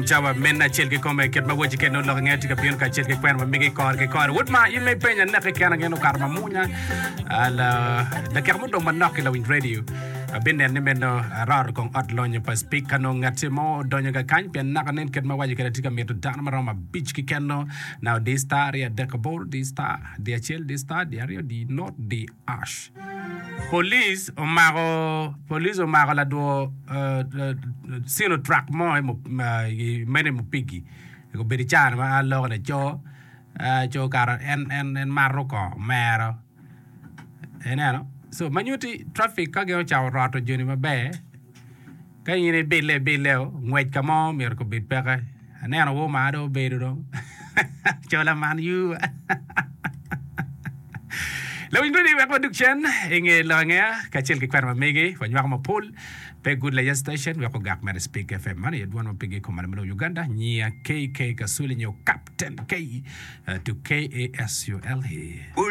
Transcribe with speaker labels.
Speaker 1: Cawa mene acel kikome kit ma weci kede nongo lok inge tye ka bino kacel ki kwena ma migi kore ki kore. Wod ma in ma ipenyo aneke kena gin okato ma munya dakika mudong manok ki lawiny radio abinen ni meno aroro kong ot lonyo pa speak ka nongo ngati mo odonyo ka kany pien naka nen kit ma waco kede atye ka mito dano maromo abic keken no now di star 238 di star di acel di star di aryo di not di ash. Police omako police omako ladwo sino truck mo i meno i Mupigi obedo i caa ma an aloko ni co co kara en en mato kongo mero ineno so ma nyutti traffic ka gin ocako roto joni maber Ka in ibille ibilleo, ngwec ka mo myero kobed peke. Aneno woo maa dong obedo dong. Cola man you. Lawiny Rudi wek wadug cen i nge lok angeya kacel ki kwena ma megi wanywako mapol pe Good Laya Station wek ogak mere Speak FM man aye dwon ma pigi i kom malo me lobo Uganda nyiya KK Kasule nyo Captain K to KASULE.